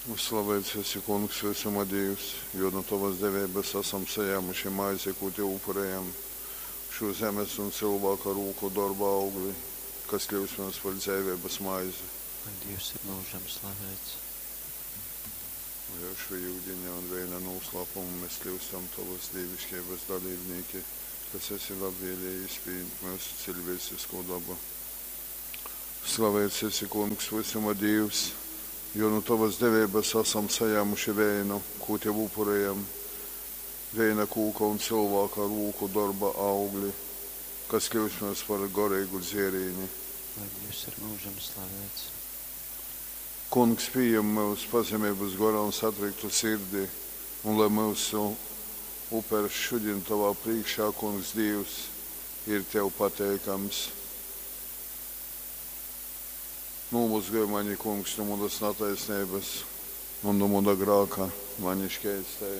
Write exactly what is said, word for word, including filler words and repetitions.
Slaveits esi, Kungs, vysuma Dīvs, jo nu tovas deveibas asam sajāmuši maizi, kū tev upurejam, šū zemes un cylvāka rūku dorba augli, kas kļyust mums par dzeiveibas maizi. Lai Dīvs ir myužam slaveits. Lai ar šo yudiņa un veina nūslāpumu mēs kļūstam tovas dīviškeibas dalībnīki, kas esi labvēlējies pījimt myusu ciļvēcisko dabu. Slaveits esi, Kungs, vysuma Dīvs, jo nu tovas deveibas asam sajāmuši veinu, kū tev upurejam, veina kūka un cylvāka rūku dorba augli, kas kļūst mums par goreigu dzierīni. Lai Dīvs ir myužam slaveits. Kungs, pījem myus pazemeibas gorā un satriktu sirdi, un lai myusu upers šudin tovā prīškā, Kungs Dīvs, ir tev pateikams. Nūmozgoj mani, Kungs, nu munas nataisneibas un nu muna grāka mani škeistej.